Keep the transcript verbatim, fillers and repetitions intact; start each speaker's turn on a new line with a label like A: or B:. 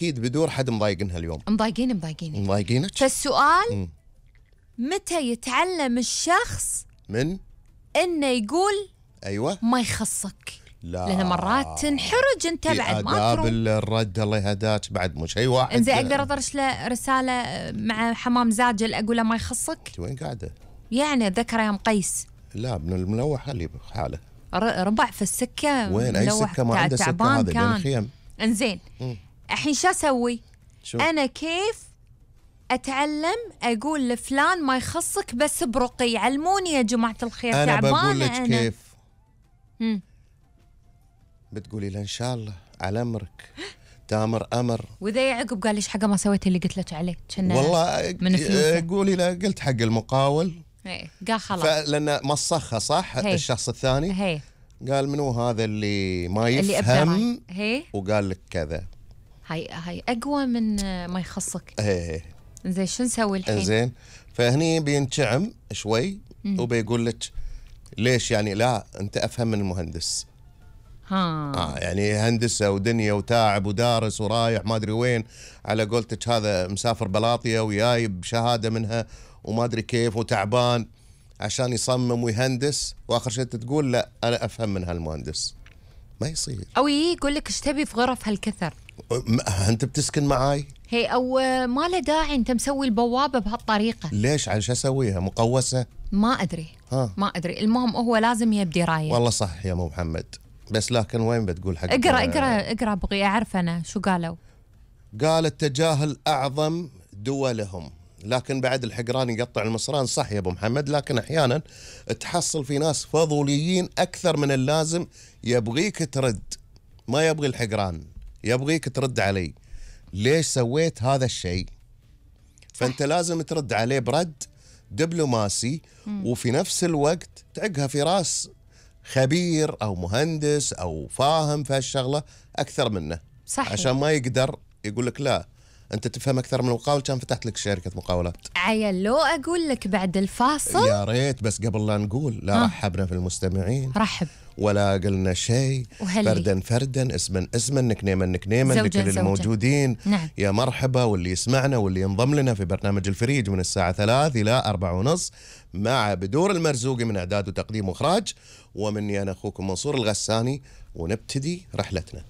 A: أكيد بدور حد مضايقنها اليوم.
B: مضايقين مضايقين
A: مضايقينك.
B: فالسؤال
A: مم.
B: متى يتعلم الشخص
A: من
B: إنه يقول
A: أيوة
B: ما يخصك؟
A: لا،
B: لأن مرات تنحرج أنت بعد ما
A: آداب
B: تروح.
A: الرد الله يهداك بعد مو شيء واحد.
B: إنزين أقدر أطرش له رسالة مع حمام زاجل أقول له ما يخصك؟
A: وين قاعدة؟
B: يعني ذكر يا مقيس.
A: لا ابن الملوح خليه بحاله.
B: ربع في السكة.
A: وين أي سكة؟ ما عنده سكة هذا بين الخيم.
B: إنزين الحين شو أسوي؟
A: شو؟
B: أنا كيف أتعلم أقول لفلان ما يخصك بس برقي؟ علموني يا جماعة الخير.
A: أنا
B: تعبانة
A: بقول لك
B: أنا.
A: كيف.
B: مم.
A: بتقولي له إن شاء الله على أمرك تامر أمر.
B: وإذا يعقب قال ليش حاجة ما سويت اللي قلت لك عليه؟
A: والله
B: من فلوسه.
A: قولي له قلت حق المقاول.
B: هي. قال خلاص.
A: لأن مصخة صح.
B: هي.
A: الشخص الثاني
B: هي.
A: قال منو هذا اللي ما
B: اللي
A: يفهم
B: هي.
A: وقال لك كذا.
B: هاي هاي أقوى من ما يخصك.
A: ايه.
B: زين شو نسوي الحين؟
A: زين فهني بينشعم شوي
B: مم.
A: وبيقول لك ليش يعني لا أنت أفهم من المهندس.
B: ها.
A: آه يعني هندسة ودنيا وتاعب ودارس ورايح ما أدري وين، على قولتك هذا مسافر بلاطية ويايب شهادة منها وما أدري كيف وتعبان عشان يصمم ويهندس، وآخر شيء تقول لا أنا أفهم من هالمهندس. ما يصير.
B: أو يقول لك ايش تبي في غرف هالكثر؟
A: أنت بتسكن معاي؟
B: هي أو ما له داعي أنت مسوي البوابة بهالطريقة.
A: ليش؟ على شو أسويها؟ مقوسة؟
B: ما أدري.
A: ها.
B: ما أدري. المهم هو لازم يبدي راية.
A: والله صح يا أبو محمد، بس لكن وين بتقول حق؟
B: اقرأ اقرأ اقرأ بغي أعرف أنا شو قالوا.
A: قال التجاهل أعظم دولهم، لكن بعد الحقران يقطع المصران. صح يا أبو محمد، لكن أحيانا تحصل في ناس فضوليين أكثر من اللازم، يبغيك ترد ما يبغي الحقران، يبغيك ترد علي ليش سويت هذا الشيء. فأنت لازم ترد عليه برد دبلوماسي وفي نفس الوقت تعقها في راس خبير أو مهندس أو فاهم في هالشغلة أكثر منه.
B: صحيح.
A: عشان ما يقدر يقول لك لا أنت تفهم أكثر من المقاول كان فتحت لك شركة مقاولات.
B: عيل لو أقول لك بعد الفاصل.
A: يا ريت، بس قبل لا نقول لا. آه. رحبنا في المستمعين.
B: رحب.
A: ولا قلنا شيء. فردا فردا اسما اسما نكنيما نكنيما لكل الموجودين.
B: نعم.
A: يا مرحبا واللي يسمعنا واللي ينضم لنا في برنامج الفريج من الساعة ثلاث إلى أربع ونص مع بدور المرزوقي من إعداد وتقديم وإخراج، ومني أنا أخوكم منصور الغساني، ونبتدي رحلتنا.